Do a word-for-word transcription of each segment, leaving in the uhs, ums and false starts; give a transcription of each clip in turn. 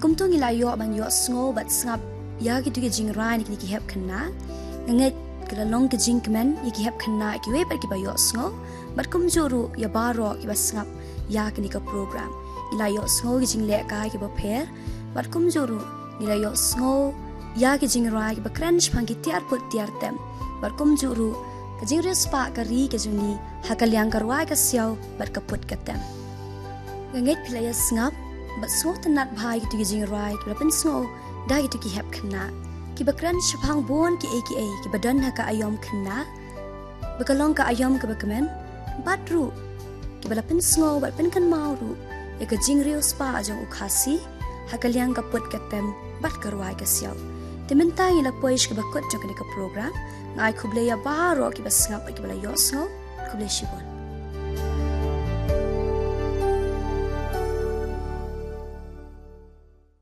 Kumto ngi la ïoh ban ïohsngew bad sngap ïa kito ki jingrwai na kine ki hep khynnah. Nga ngeit ka la long ka jingkmen ïa ki hep khynnah kiwei pat kiba ïohsngew, bad kumjuh ruh ïa baroh kiba sngap ïa kane ka program. Ngi la ïohsngew ki jinglehkai kiba pher, bad kumjuh ruh ngi la ïohsngew ïa ki jingrwai kiba kren shaphang ki tiar put tiar tem, bad kumjuh ruh ka jingriewspah ka ri ka jong ngi ha ka liang ka rwai ka siaw bad ka put ka tem. Nga ngeit phi la ïa sngap bad sngewtynnat bha ïa kito ki jingrwai kiba la pynsngew da kito ki hep khynnah, kiba kren shaphang bun kiei kiei kiba don ha ka aïom khynnah, ba ka long ka aïom kaba kmen, bad ruh kiba la pynsngew bad pynkynmaw ruh ïa ka jingriewspah jong u Khasi ha ka liang ka put ka tem bad ka rwai ka siaw. Te mynta ngi la poi sha kaba kut jong kane ka program. Nga ai khublei ïa baroh kiba sngap bad kiba la ïohsngew. Khublei shibun.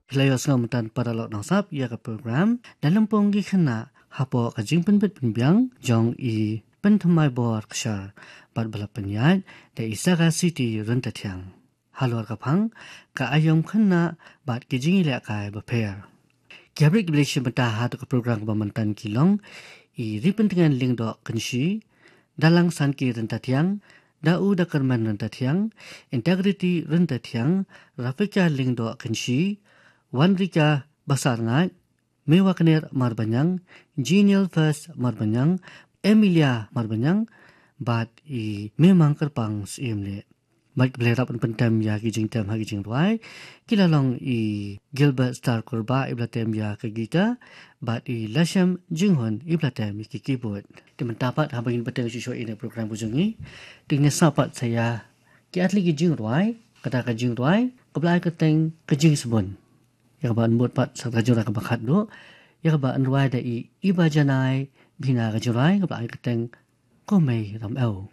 Phi la ïohsngew mynta, paralok nongsngap, ïa ka program Dalympung ki Khynnah hapoh ka jingpynbit pynbiang jong i Pynthymmai Borkshar, bad ba la pynïaid da i Saga City Ryntathiang. Halor ka phang ka aïom khynnah bad ki jingïalehkai bapher. Ki hapdeng kiba la shim bynta ha katu ka program kaba mynta ki long i Ripyntngen Lyngdoh Kynshi, Dalang Sanki Ryntathiang, Dau Dakermen Ryntathiang, Integrity Ryntathiang, Rafika Lyngdoh Kynshi, Wanrika Basarngaid, Mewakner Marbaniang, Genial First Marbaniang, Emilia Marbaniang, bad i Memang Kyrpang Syiemlieh. Bad kiba la rap ban pyntem ïa ki jingtem ha ki jingrwai ki la long i Gilbert Star Kurbah, iba la tem ïa ka guitar, bad i Lashem Jinghun, iba la tem ïa ki keyboard. Te mynta pat haba ngin bteng shuh shuh ïa kane ka program ka jong ngi, te ngin ïa sngap pat sa ïa ki artylli ki jingrwai, kata ka jingrwai kaba la ai kyrteng Ka Jingsbun. Ïa kaba yn bud pat sa ka jingrwai kaba khatduh, ïa kaba yn rwai da i Ibajanai Bhina, ka jingrwai kaba la ai kyrteng Ko Mei Ramew.